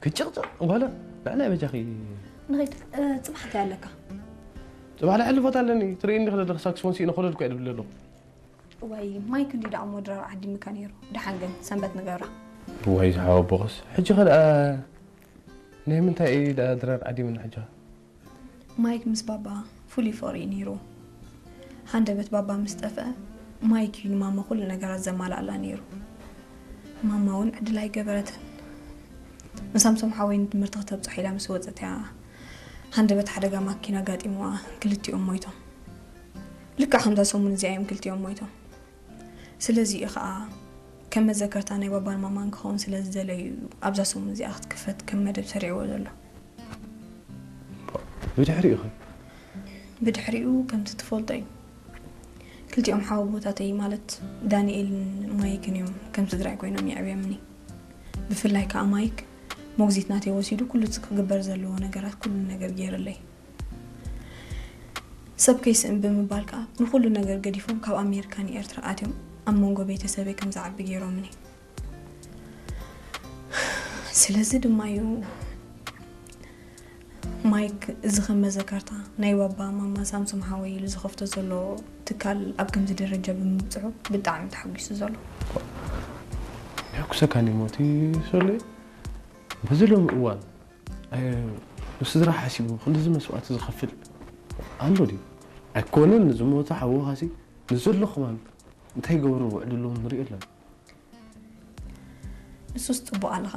ብጭቕጭቕ ጓለ ንዕና በጃኺ። ንኸይድ። ጽባሕ እንታይ ኣለካ? ጽባሕ ልዕሊ ቦታ ኣለኒ። ትርእይኒ ክለ ሳክስፎን ሲኢነ ኮለል እኮ እየ ድብል ኣለኹ። ወይ ማይክ እንዲ ደኣ እሞ ድራር ዓዲምካ ነይሩ። ደሓን ግን ሰንበት ንገብራ። ወይ ዝሓወቦኸስ ሕጂ ኸ ደኣ ናይ ምንታይ እዩ ደኣ ድራር ዓዲምና ሕጂ? ማይክ ምስ ባባ ፍሉይ ፍቕሪ እዩ ነይሩ። ሃንደበት ባባ ምስ ጠፍአ ማይክ እዩ ንማማ ኩሉ ነገራት ዘማልኣላ ነይሩ። ማማ እውን ዕድል ኣይገበረትን። ንሳምሶም ሓወይ ንትምህርቲ ክተብፅሖ ኢላ ምስ ወፀት እያ ሃንደበት ሓደጋ ማኪና ኣጋጢምዋ ክልቲኦም ሞይቶም። ልክዕ ከምዛ ሰሙን እዚኣ እዮም ክልቲኦም ሞይቶም። ስለዚ እዩ ከዓ ከም መዘከርታ ናይ ባባን ማማን ክኸውን ስለ ዝደለዩ እዩ ኣብዛ ሰሙን እዚኣ ክትክፈት ከም መደብ ሰሪዕዎ ዘሎ። ብድሕሪኡ ኸ? ብድሕሪኡ ከምቲ ትፈልጦ እዩ። ክልቲኦም ሓወቦታተይ ማለት ዳንኤልን ማይክን እዮም ከም ስድራይ ኮይኖም የዕብዮምኒ። ብፍላይ ከዓ ማይክ ሞግዚት ናተይ ወሲዱ ኩሉ እቲ ክግበር ዘለዎ ነገራት ኩሉ ነገር ገይርለይ። ሰብ ከይስእን ብምባል ከዓ ንኩሉ ነገር ገዲፎም ካብ ኣሜሪካ ንኤርትራ ኣትዮም ኣብ መንጎ ቤተሰበይ ከም ዝዓቢ ገይሮምኒ። ስለዚ ድማ እዩ ማይክ እዚ ከም መዘከርታ ናይ ባባ ማማ ሳምሶም ሓወይ ኢሉ ዝኸፍቶ ዘሎ ትካል ኣብ ከምዚ ደረጃ ብምብፅሑ ብጣዕሚ ተሓጒሱ ዘሎ። የሕጉሰካኒ ሞቲ ሶሌ። በዚ ሎሚ እዋን ኣይ፣ ንስድራ ሓሲቡ ክንድዚ መስዋእቲ ዝኸፍል ኣሎ ድዩ? ኣይኮነን ንዝሞተ ሓውኻሲ ንዘሎ ከማን እንታይ ይገብሩ ውዕድሉ ንሪኦ ኣለና። ንሱስ ፅቡቅ ኣለኻ።